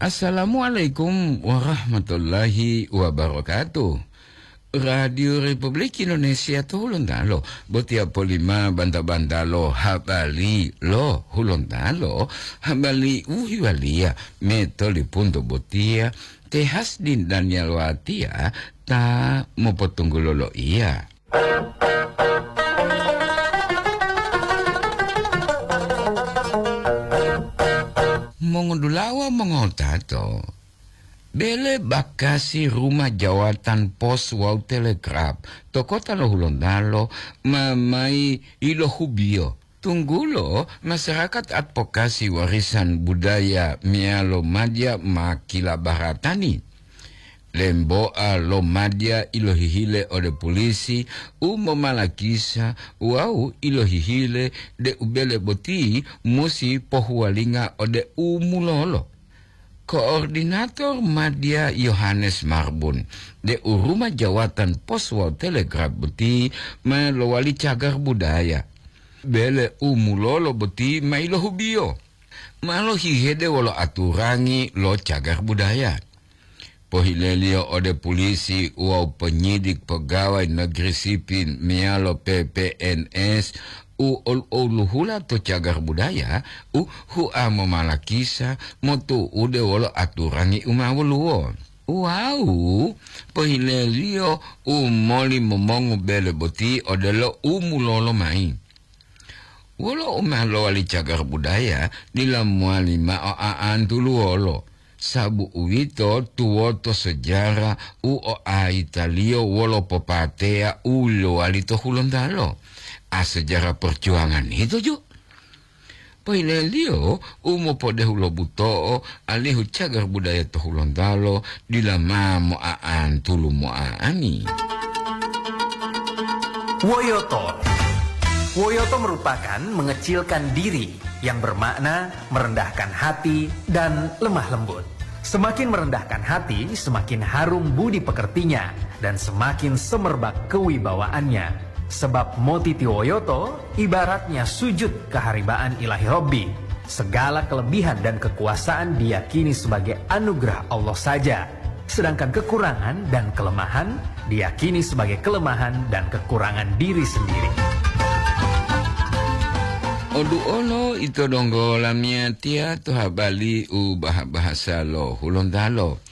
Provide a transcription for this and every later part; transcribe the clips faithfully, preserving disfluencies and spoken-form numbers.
Assalamualaikum warahmatullahi wabarakatuh. Radio Republik Indonesia to Hulontalo, botiya polima banta-bantalo habari lo Hulontalo, habari u hiwaliya metolipunto botiya, te Hasdin Daniel Watia ta mopotunggulo loiya. Mongodulawa mongotato, bele bakasi rumah jawatan pos wawu telegraf to kota lo Hulontalo ma mayi ilohubiyo. Tunggulo masyarakat advokasi warisan budaya meyalo madya ma kilabaratani. Lemboa lo madya ilohihile ode pulisi u momalakisa wawu ilohihile deu bele boti musi pohuwalinga ode u mulolo. Koordinator madya Yohanes Marbun deu rumah jawatan pos wawu telegraf boti ma lowali cagar budaya. Bele u mulolo boti ma ilohubiyo. Ma lohihede wolo aturangi lo cagar budaya. Pohileliyo ode pulisi wawu penyidik pegawai negeri sipil meyalo P P N S u ol-, oluhula to cagar budaya u hua momalakisa motu'ude wolo aturangi u ma woluwo. Wawu pohileliyo u moli momongu bele boti odelo u mulolo mayi. Wolo u ma lowali cagar budaya dila mowali mao a'antu'u wolo, sabu uwito tuwoto sejarah u oaitaliyo wolo popateya u lowali to Hulontalo. A sejarah perjuangan ito ju. Poileliyo u mopodehu lo buto'o alihu cagar budaya to Hulontalo dila ma moa'antu'u moa'ani. Woyoto. Woyoto merupakan mengecilkan diri, yang bermakna merendahkan hati dan lemah lembut. Semakin merendahkan hati, semakin harum budi pekertinya, dan semakin semerbak kewibawaannya. Sebab motiti woyoto ibaratnya sujud keharibaan Ilahi Robbi. Segala kelebihan dan kekuasaan diyakini sebagai anugerah Allah saja. Sedangkan kekurangan dan kelemahan diyakini sebagai kelemahan dan kekurangan diri sendiri. Oduolo ito donggo lamiyatiya to habari u bah-, bahasa lo Hulontalo.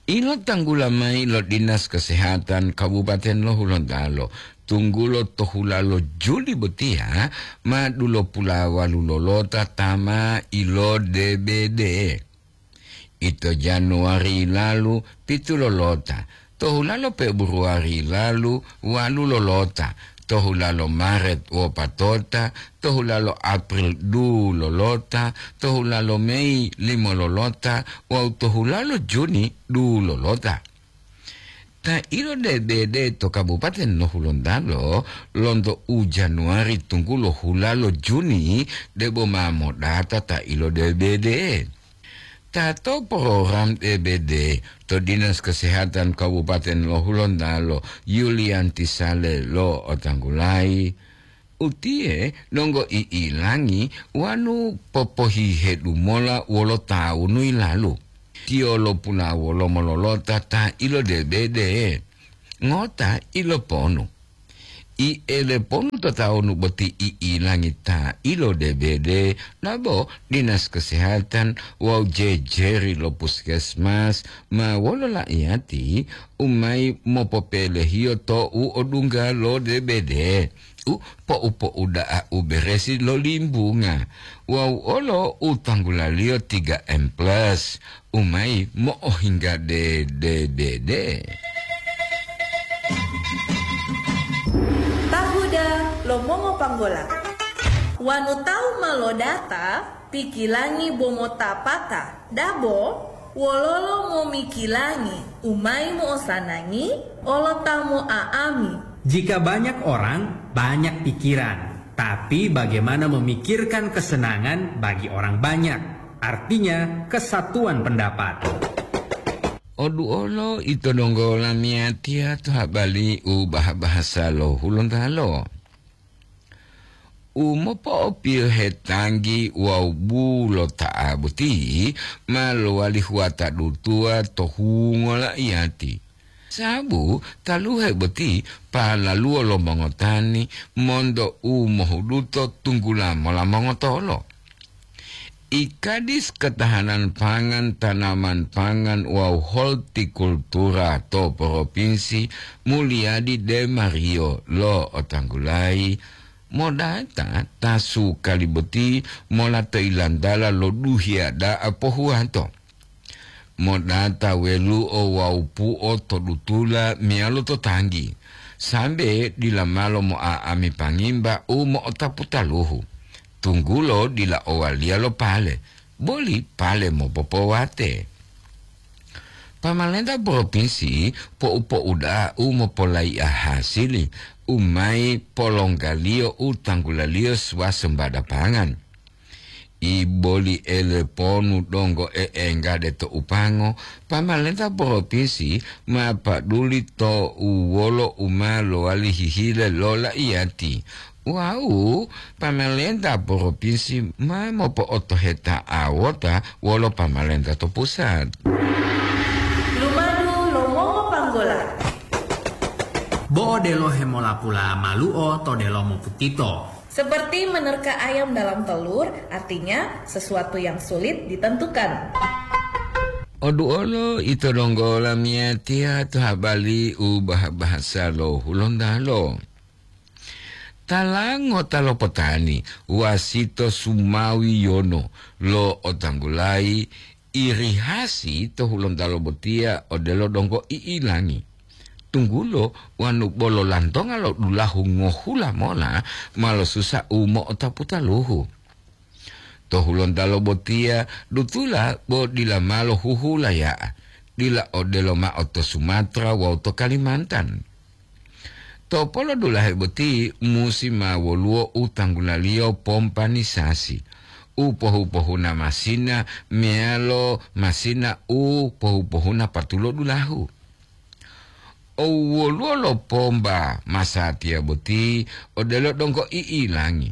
Ilotanggula mayi lo Dinas Kesehatan Kabupaten lo Hulontalo, tunggulo to hulalo Juli botiya ma dulopulawalu lolota ta ma ilo D B D. Ito Januari lalu, pitu lolota. To hulalo Februari lalu, walu lolota. To hulalo Maret, wopatota. To hulalo April, du lolota. To hulalo Mei, limo lolota. Wawu to hulalo Juni, du lolota. Ta ilo D B D to Kabupaten lo Hulontalo, lonto u Januari tunggulo hulalo Juni, debo ma modata ta ilo D B D. Ta to program D B D to Dinas Kesehatan Kabupaten lo Hulontalo, Yulianti Sale lo otanggulayi, utiye donggo i'ilangi wanu popohihedu mola wolo tawunu yilalu. Tiyo lopulawolo mololota ta ilo D B D ngota iloponu. I eleponu to tawunu boti i'ilangi ta ilo D B D, nabo Dinas Kesehatan wawu jejeri lo puskesmas ma wolo la'iyati u mayi mopopelehiyo to u odungga lo D B D, u po'u-po'u da'a u beresi lo limbunga, wawu olo u tanggulaliyo tiga M plus, u mayi mo'ohingga D D B D. Tahuda lo mongopanggola. Wanu tawu ma lodata, pikilangi bo motapata, dabo wololo momikilangi u mayi mo'osanangi olo ta mo'a'ami. Jika banyak orang, banyak pikiran. Tapi bagaimana memikirkan kesenangan bagi orang banyak? Artinya, kesatuan pendapat. Oduolo ito donggo lamiyatiya to habari u bah-, bahasa lo Hulontalo. U mopo'opiyohe tanggi wawu bulota'a boti ma lowali huwata dutuwa to hungo la'iyati. Sababu taluhe boti palaluwo lo mongotani monto u mohuduto tunggula mola mongotolo. I Kadis Ketahanan Pangan, Tanaman Pangan wawu Hortikultura to Propinsi Mulyadi De Mario lo'otanggulayi, modata ta sukali boti mola to ilantala lo duhiya da'a pohuwato. Modata welu'o wawu pu'o to dutula meyalo to tanggi, sambe dila malo mo'a'ami pangimba u mo'otapu taluhu, tunggulo dila owaliya lo pale, boli pale mopopowate. Pamalenta propinsi po'u-po'u da'a u mopolaiya hasili u mayi polonggaliyo u tanggulaliyo swasembada pangan. I boli eleponu donggo e'enggade to upango, pamalenta propinsi ma paduli to u wolo u ma lowali hihile lo la'iyati. Wawu pamalenta propinsi ma mopo'otoheta'awota wolo pamalenta to pusat. Lumadu lo mongopanggola. Bo odelo hemolapula malu'o to delomo putito. Seperti menerka ayam dalam telur, artinya sesuatu yang sulit ditentukan. Oduolo ito donggo lamiyatiya to habali u bah-bahasa lo Hulontalo. Tala ngota lo potani wasito sumawi yono lo otanggulayi irihasi to Hulontalo botiya odelo donggo i'ilangi. Tunggulo wanu bolo lantonga lo dulahu ngohula mola ma losusa u mo'otapu taluhu. To Hulontalo botiya dutula bo dila malo huhulaya'a, dila odelo ma'o to Sumatra wawu to Kalimantan. To polodulahe boti musi ma woluwo u tanggulaliyo pompanisasi, u pohu-pohuna masina meyalo masina u pohu-pohuna patulo dulahu. Owoluwo lo pomba masatiya boti odelo donggo i'ilangi,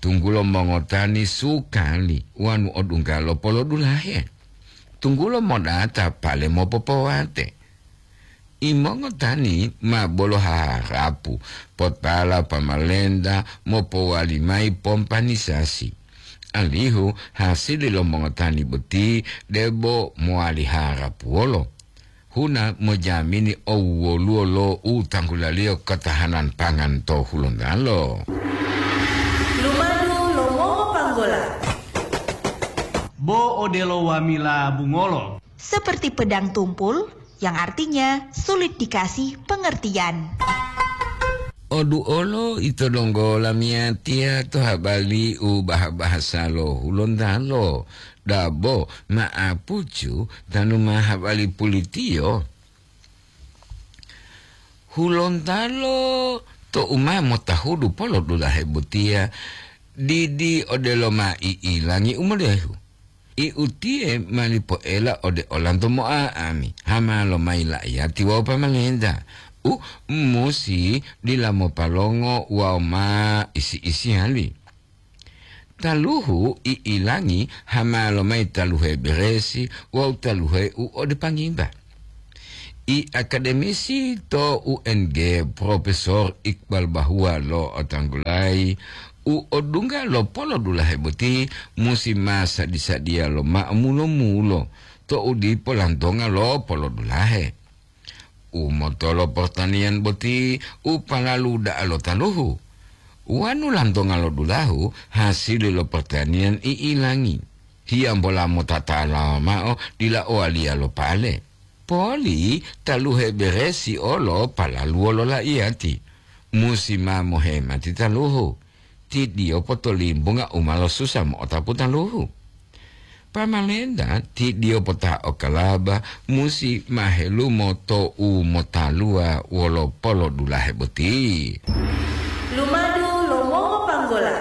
tunggulo mongotani sukali wanu odungga lo polodulahe, tunggulo modata pale mopopowate. Imongotani ma bolo haharapu potala pamalenta mopowali mayi pompanisasi, alihu hasili lo mongotani boti debo mowali harapuwolo. Huna mojamini owoluwo lo u tanggulaliyo katahanan pangan to Hulontalo. Lumadu lo mongopanggola. Bo odelo wamila bungolo. Seperti pedang tumpul, yang artinya sulit dikasih pengertian. Oduolo ito donggo lamiyatiya to habali u bah-bahasa lo Hulontalo, dabo ma'apucu tanu ma habali pulitiyo. Hulontalo to u ma motahudu polodulahe botiya, didi odelo ma i'ilangi u modehu. I utiye ma lipoela ode olanto mo'a'ami, hama lomayi la'iyati wawu pamalenta, u musi dila mopalongo wawu ma isi-isiyali. Taluhu i'ilangi hama lomayi taluhe beresi wawu taluhe u ode pangimba. I akademisi to U N G, Profesor Iqbal Bahua lo'otanggulayi, u odungga lo polodulahe boti musi ma sadi-sadiya lomao mulo-mulo to u dipo lantonga lo polodulahe. U motolo portaniyan boti u palalu da'a lo taluhu. Wanu lantonga lo dulahu hasili lo portaniyan i'ilangi. Hiyambola motatala mao dila owaliya lo pale. Poli taluhe beresi olo palaluwo lo la'iyati. Musi ma mohemati taluhu. Tidiyo potolimbunga u ma losusa mo'otapu taluhu. Pamalenta tidiyo pota okalaba musi ma helumo to u motaluwa wolo polodulahe boti. Lumadu lo mongopanggola.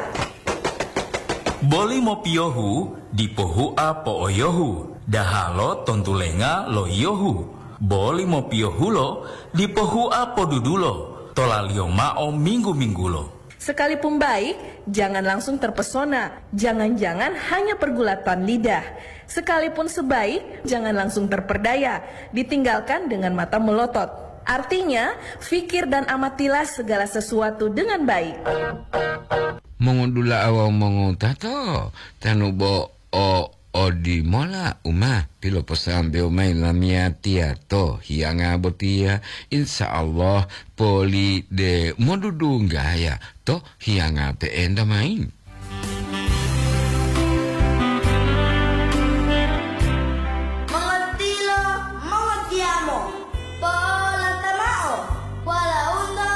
Boli mopiyohu dipo hua po'oyohu, dahalo tontulenga lo yiyohu. Boli mopiyohulo dipo hua podudulo, tolaliyo mao minggu-minggulo. Sekalipun baik, jangan langsung terpesona. Jangan-jangan hanya pergulatan lidah. Sekalipun sebaik, jangan langsung terperdaya. Ditinggalkan dengan mata melotot. Artinya, fikir dan amatilah segala sesuatu dengan baik. Mongodula'a wawu mongowutato, tanu bo o odimola u ma piloposambewo mayi lamiyatiya to hiyanga botiya, insya Allah poli de modudunggaya to hiyanga pe'enta mayi. Mongotilo, mongotiyamo, polatamao, walaundo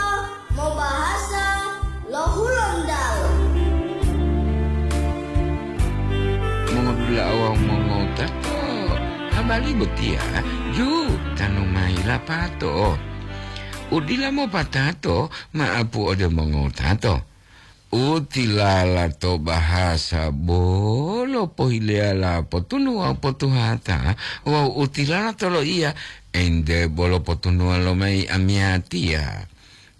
mobahasa lo Hulontalo. Mongodula'a wawu mongowutato, habari botiya ju tanu mayi lapato. U dila mopatato ma'apu ode mongowutato. U tilala to bahasa bolo pohileyala potunu wawu potuhata, wawu u tilala to loiya ente bolo potunuwa lomayi amiyatiya.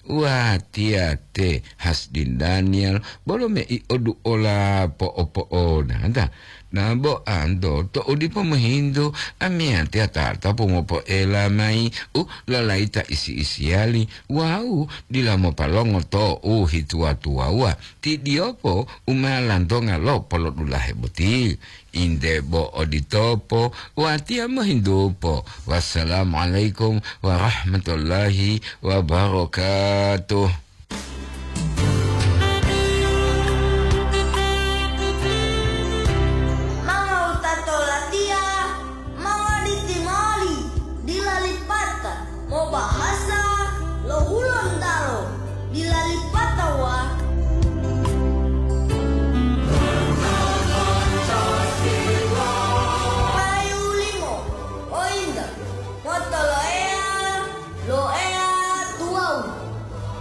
Watiya te Hasdin Daniel bolo mei oduola po'opo'onata. Nabo anto to'u dipo mohintu, amiyatiya tatapu mopoela mayi u lalayita isi-isiyali wawu dila mopalongo to u hituwa-tuwawuwa. Ti diyopo u ma lantonga lo polodulahe boti. Inde bo oditopo, watiya mohintupo. Wassalamualaikum warahmatullahi wabarakatuh. Mangawutato latiya, mawaliti moli, dila lipata, mobahasa lo Hulontalo, dila lipata wa. Payu limo, ointa, motoloeya, lo Eya tuwawu,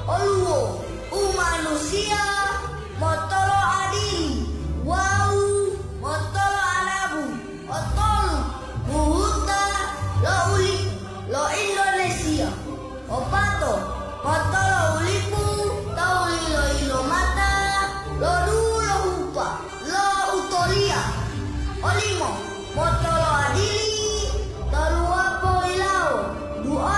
oluwo, umanusiya, motolo